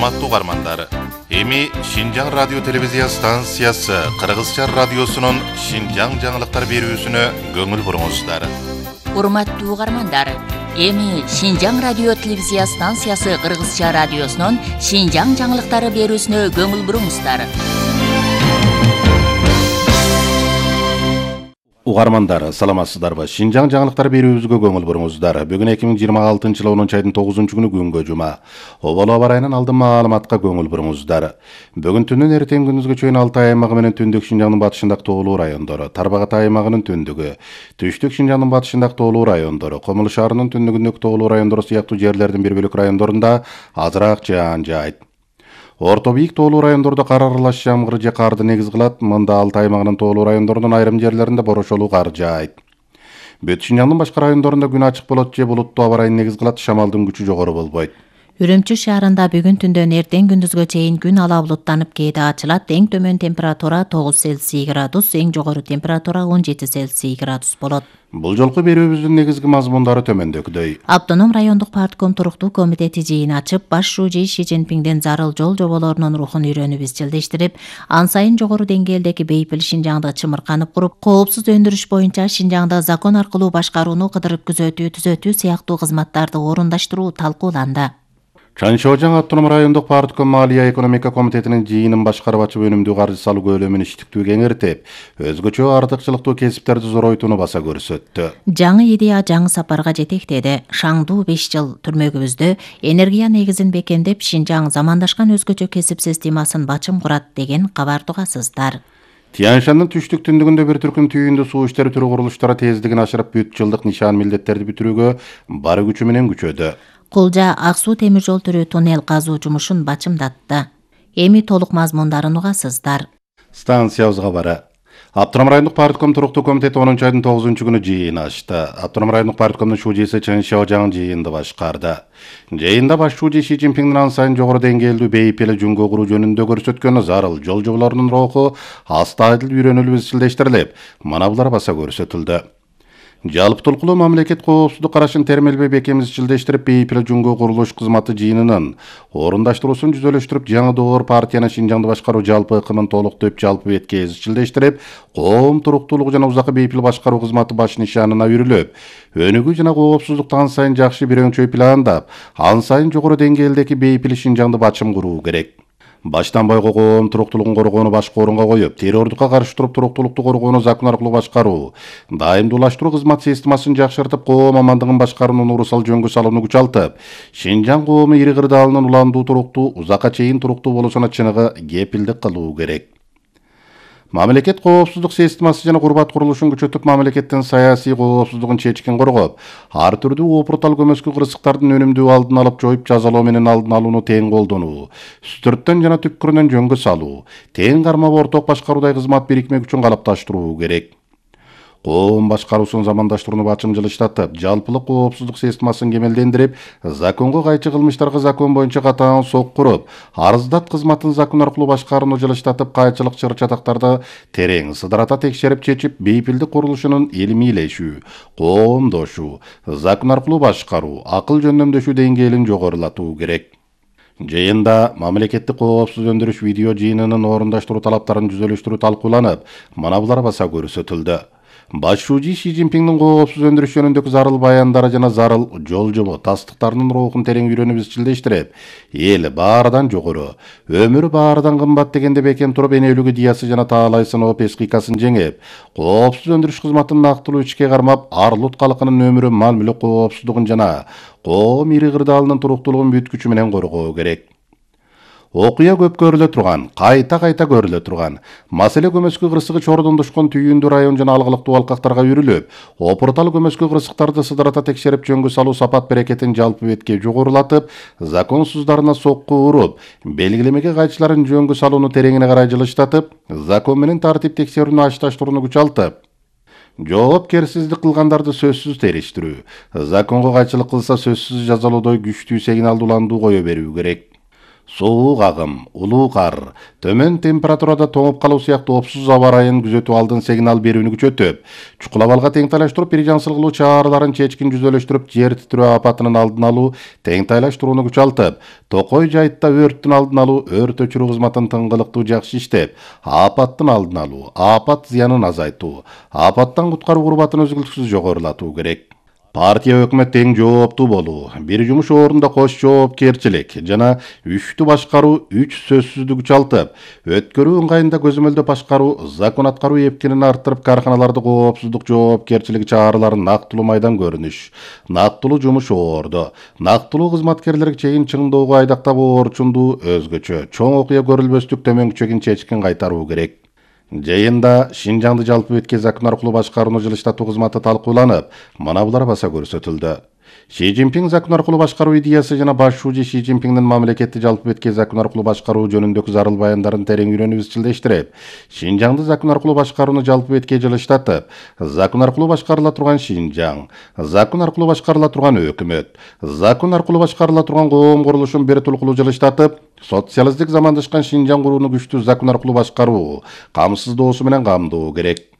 Урматтуу угармандар, эми Шинжаң радио телевизия станциясы Кыргызча радиосунун Шинжаң жаңылыктар берүүсүнө көңүл буруңуздар. Урматтуу угармандар, эми Шинжаң радио телевизия станциясы Кыргызча радиосунун Шинжаң жаңылыктары берүүсүнө көңүл буруңуздар. Угармандар, саламатсыздарбы? Шинжаң жаңылыктар берүүбүзгө көңүл буруңуздар. Бүгүн 2026 жылы 10 айдын 9-күнү күнгө жума. Оболо аба ырайынан алдын маалыматка көңүл буруңуздар. Бүгүн түнүн эртең күндүзгө чейин Алтай аймагы менен түндүк Шинжаңдын батышындагы тоолуу райондору, Тарбагат аймагынын түндүгү, түштүк Шинжаңдын батышындагы тоолуу райондору, Комул шаарынын түндүгүндөгү тоолуу райондору сыяктуу жерлердин бир бөлүк райондорунда азыраак жаан жаайт. Орто бийик тоолуу райондордо кар аралаш жамгыр же карды негиз кылат. Мында Алтай аймагынын тоолуу райондорунун айрым жерлеринде борошолуу кар жаайт. Бүт Шинжаңдын башка райондорунда күн ачык болот же булуттуу аба ырайын негиз кылат. Шамалдын күчү жогору болбойт. Үрүмчү шаарында бүгүн түндөн эртең күндүзгө чейин күн ала булуттанып кээде ачылат. Эң төмөн температура 9 Цельсий градус, эң жогору температура 17 Цельсий градус болот. Бул жолку берүүбүздүн негизги мазмундары төмөндөгүдөй. Автоном райондук партком туруктуу комитети жыйын ачып, баш шужий Ши Цзиньпиңдин зарыл жол жоболорунун рухун үйрөнүп изчилдештирип, ан сайын жогору деңгээлдеги бейпил Шинжаңды чымырканып куруп, коопсуз өндүрүш боюнча Шинжаңда закон аркылуу башкарууну кыдырып түзөтүү сыяктуу кызматтарды орундаштыруу талкууланды. Чанчоожаң автоном райондук партком Малия экономика комитетинин жыйынын башкарып ачып өнүмдүү каржы салуу көлөмүн иштиктүү кеңейтип, өзгөчө артыкчылыктуу кесиптерди зоройтууну баса көрсөттү. Жаңы идея жаңы сапарга жетектеди. Шаңдуу 5 жыл түрмөгүбүздө энергия негизин бекемдеп, Шинжаң замандашкан өзгөчө кесип системасын бачым курат деген кабар тугасыздар. Тяньшандын түштүк түндүгүндө бир түркүм түйүндү суу иштери түрү курулуштары тездигин ашырып, бүт жылдык нишан милдеттерди бүтүрүүгө бар күчү менен күчөдү. Кулжа Ак суу темир жол түрү туннел казуу жумушун бачымдатты. Эми толук мазмундарын угасыздар. Станциябызга бара. Автоном райондук партком туруктуу комитети 10 айдын 9-күнү жыйын ачты. Автоном райондук парткомдун шужийси Чанчоожаң жыйынды башкарды. Жыйында баш шужий Ши Цзиньпиңдин ан сайын жогору деңгээлдүү бейпил жөнгө куруу жөнүндө көрсөткөн зарыл жол жоболорунун руху астайдыл үйрөнүлүп изчилдештирилип, мына булар баса көрсөтүлдү. Жалпытулкулуу мамлекет коопсуздук карашын термелбей бекем изчилдештирип, бейпил жөнгө курулуш кызматы жыйынынын орундаштыруусун жүзөлөштүрүп, жаңы доор партиянын Шинжаңды башкаруу жалпы ыкымын толуктоп, жалпы бетке изчилдештирип, коом туруктуулугу жана узакы бейпил башкаруу кызматы баш нишанына үрүлүп, өнүгүү жана коопсуздукту ан сайын жакшы бир өңчөй пландап, ан сайын жогору деңгээлдеги бейпил Шинжаңды бачым куруу керек. Баштан бойго коом туруктуулугун коргоону башкы орунга коюп, террордукка каршы туруп, туруктуулукту коргоону закон аркылуу башкаруу, дайымдуулаштыруу кызмат системасын жакшыртып, коом амандыгын башкаруунун урусал жөнгө салууну күчалтып, Шинжаң коому ири кырдаалынын уландуу туруктуу, узакка чейин туруктуу болушуна чыныгы кепилдик кылуу керек. Мамлекет коопсуздук системасы жана курбат курулушун күчөтүп, мамлекеттин саясий коопсуздугун чечкин коргоп, ар түрдүү опуртал көмөскү кырсыктардын өнүмдүү алдын алып, жоюп, жазалоо менен алдын алууну тең колдонуу, үстүрттөн жана түпкүрүнөн жөнгө салуу, тең кармап орток башкаруудай кызмат бирикме күчүн калыпташтыруу керек. Коом башкаруусун замандаштырууну бачым жылыштатып, жалпылык коопсуздук системасын кемелдендирип, законго кайчы кылмыштарга закон боюнча катаан сок куруп, арыздат кызматын закон аркылуу башкарууну жылыштатып, кайчылык чыр-чатактарды терең сыдырата текшерип чечип, бейпилдик курулушунун илмийлешүү, коомдошуу, закон аркылуу башкаруу, акыл жөндөмдөшүү деңгээлин жогорулатуу керек. Жыйында мамлекеттик коопсуз өндүрүш видео жыйынынын орундаштыруу талаптарын жүзөлөштүрүү талкууланып, мына булар баса көрсөтүлдү. Баш шужий Ши Цзиньпиңдин коопсуз өндүрүш жөнүндөгү зарыл баяндары жана зарыл жол жобо тастыктарынын рухун терең үйрөнүп изчилдештирип, эл баарыдан жогору, өмүр баарыдан кымбат дегенде бекем туруп, энелүк идеясы жана таалай сыноо пескикасын жеңип, коопсуз өндүрүш кызматын нактылуу ичке кармап, арлут калкынын өмүрү, мал мүлк коопсуздугун жана коом ири кырдаалынын туруктуулугун бүт күчү менен коргоо керек. Окуя көп көрүлө турган, кайта көрүлө турган маселе көмөскү кырсыгы Чордон тушкан түйүндүү район жана алгылыктуу алкактарга үрүлүп, опуртал көмөскү кырсыктарды сыдырата текшерип, жөнгө салуу сапат берекетин жалпы бетке жогорулатып, законсуздарына сокку уруп, белгилемеге кайчыларын жөнгө салууну тереңине карай жылыштатып, закон менен тартип текшерүүнү ачташтырууну күчалтып, жоопкерсиздик кылгандарды сөзсүз териштирүү, законго кайчылык кылса сөзсүз жазалоодой күчтүү сигналдууландуу кое берүү керек. Суук агым, улуу кар, төмөн температурада тоңуп калуу сыяктуу опсуз аба ырайын күзөтүп алдын сигнал берүүнү күчөтүп, чукул абалга теңтайлаштырып бир жансыл кылуу чараларын чечкин жүзөлөштүрүп, жер титирөө апатынын алдын алуу, теңтайлаштырууну күчалтып, Токой жайытта өрттүн алдын алуу, өрт өчүрүү кызматын тыңгылыктуу жакшы иштеп, апаттын алдын алуу, апат зыянын азайтуу, апаттан куткаруу курбатын үзгүлтүксүз жогорулатуу керек. Партия өкмөт тең жооптуу болуу, бир жумуш орунда кош жоопкерчилик жана үчтү башкаруу үч сөзсүздүк күчалтып, өткөрүү ыңгайында көзөмөлдөп башкаруу, закон аткаруу эпкинин арттырып, карканаларды коопсуздук жоопкерчилиги чараларын нактылуу майдан көрүнүш, нактылуу жумуш орду, нактылуу кызматкерлерге чейин чыңдоого айдактап орчундуу өзгөчө чоң окуя көрүлбөстүк төмөнкү чегин чечкин кайтаруу керек. Жыйында Шинжаңды жалпы бетке закон аркылуу башкарууну жылыштатуу кызматы талкууланып, мына булар баса көрсөтүлдү. Ши Цзиньпин закон аркылуу башкаруу идеясы жана баш шужи Ши Цзиньпиндин мамлекетти жалпы бетке закон аркылуу башкаруу жөнүндөгү зарыл баяндарын терең үйрөнүп изчилдештирип, Шинжаңды закон аркылуу башкарууну жалпы бетке жылыштатып, закон аркылуу башкарыла турган Шинжаң, закон аркылуу башкарыла турган өкмөт, закон аркылуу башкарыла турган коом курулушун бир тулкулуу жылыштатып, социалисттик замандашкан Шинжаң курууну күчтүү закон аркылуу башкаруу, камсыздоосу менен камдоо керек.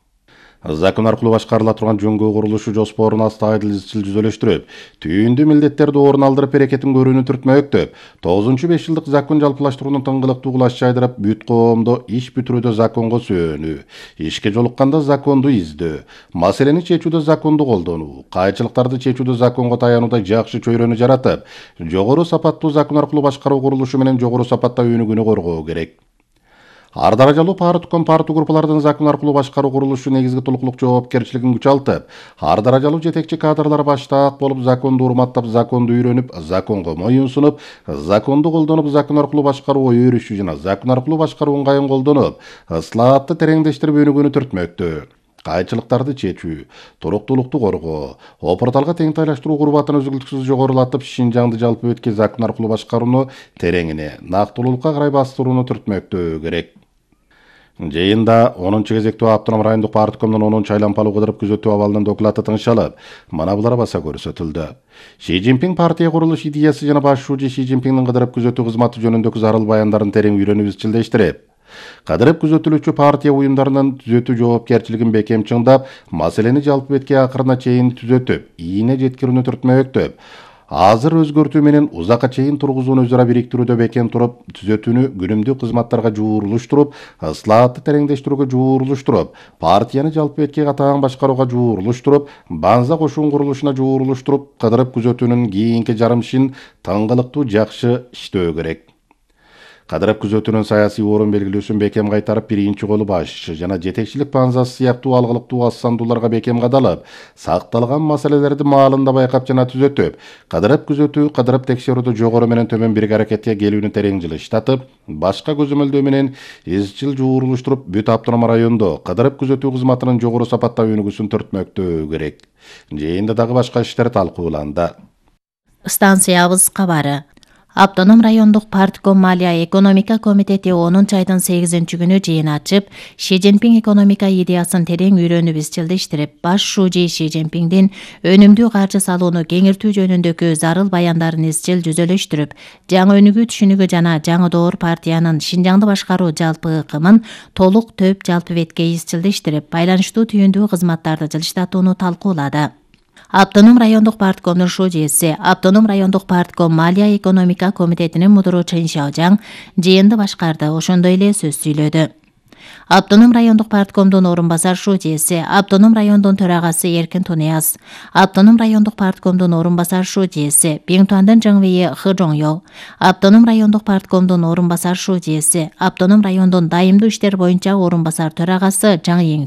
Закон аркылуу башкарыла турган жөнгө курулушу жоспорун астайыл изчил жүзөлөштүрүп, түйүндүү милдеттерди орун алдырып берекетин көрүүнү түртмөктөп, 9-5 жылдык закон жалпылаштырууну тыңгылыктуу кылаш жайдырып, бүт коомдо иш бүтүрүүдө законго сүйөнүү, ишке жолукканда законду издөө, маселени чечүүдө законду колдонуу, кайчылыктарды чечүүдө законго таянууда жакшы чөйрөнү жаратып, жогору сапаттуу закон аркылуу башкаруу курулушу менен жогору сапатта өнүгүүнү коргоо керек. Ар даражалуу партком группалардын закон аркылуу башкаруу курулушу негизги толуктук жоопкерчилигин күчалтып, ар даражалуу жетекчи кадрлар баштаак болуп законду урматтап, законду үйрөнүп, законго моюн сунуп, законду колдонуп, закон аркылуу башкаруу ой өрүшү жана закон аркылуу башкаруу ыңгайын колдонуп, ыслаатты тереңдештирип өнүгүүнү түртмөктө. Кайчылыктарды чечүү, туруктуулукту коргоо, опурталга теңтайлаштыруу курбатын үзгүлтүксүз жогорулатып, Шинжаңды жалпы бетке закон аркылуу башкарууну тереңине, нактылуулукка карай бастырууну түртмөктөө керек. Жыйында 10-кезектүү Автоном райондук парткомдун 10-аймалуу кыдырып күзөтүү абалынын доклаты тыңшалып, мына булар баса көрсөтүлдү. Ши Цзиньпин партия курулуш идеясы жана баш шужи Ши Цзиньпиндин кыдырып күзөтүү кызматы жөнүндөгү зарыл баяндарын терең үйрөнүп изчилдештирип, кыдырып күзөтүлүүчү партия уюмдарынын түзөтүү жоопкерчилигин бекем чыңдап, маселени жалпы бетке акырына чейин түзөтүп, ийине жеткирүүнү түртмөктөп, азыр өзгөртүү менен узакка чейин тургузууну өзара бириктирүүдө бекем туруп, түзөтүүнү күнүмдүк кызматтарга жуурулуштуруп, ыслаатты тереңдештирүүгө жуурулуштуруп, партияны жалпы бетке катаң башкарууга жуурулуштуруп, Банза кошун курулушуна жуурулуштуруп, кыдырып күзөтүүнүн кийинки жарым ишин тыңгылыктуу жакшы иштөө керек. Кыдырып күзөтүүнүн саясий орун белгилөөсүн бекем кайтарып, биринчи колу башчы жана жетекчилик Банзасы сыяктуу алгылыктуу ассандууларга бекем кадалып, сакталган маселелерди маалында байкап жана түзөтүп, кыдырып күзөтүү, кыдырып текшерүүдө жогору менен төмөн бир аракетке келүүнү терең жылыштатып, башка көзөмөлдөө менен изчил жуурулуштуруп, бүт автоном райондо кыдырып күзөтүү кызматынын жогору сапатта өнүгүүсүн түртмөктөө керек. Жыйында дагы башка иштер талкууланды. Станциябыз кабары. Автоном райондук партком Малия экономика комитети 10-айдын 8-күнү жыйын ачып, Ши Цзиньпин экономика идеясын терең үйрөнүп изчилдештирип, баш шужи Ши Цзиньпиндин өнүмдүү каржы салууну кеңиртүү жөнүндөгү зарыл баяндарын изчил жүзөлөштүрүп, жаңы өнүгүү түшүнүгү жана жаңы доор партиянын Шинжаңды башкаруу жалпы ыкымын толук төп жалпы бетке изчилдештирип, байланыштуу түйүндүү кызматтарды жылыштатууну талкуулады. Автоном райондук парткомдун шужиси, Автоном райондук партком Малия экономика комитетинин мудуру Чен Шаожаң жыйынды башкарды, ошондой эле сөз сүйлөдү. Автоном райондук парткомдун орун басар шужиси, Автоном райондун төрагасы Эркин Тунияз, Автоном райондук парткомдун орун басар шужиси, Биңтуандын Жыңвейи Хы Жоңё, Автоном райондук парткомдун орун басар шужиси, Автоном райондун дайымдуу иштер боюнча орун басар төрагасы Жаң Ең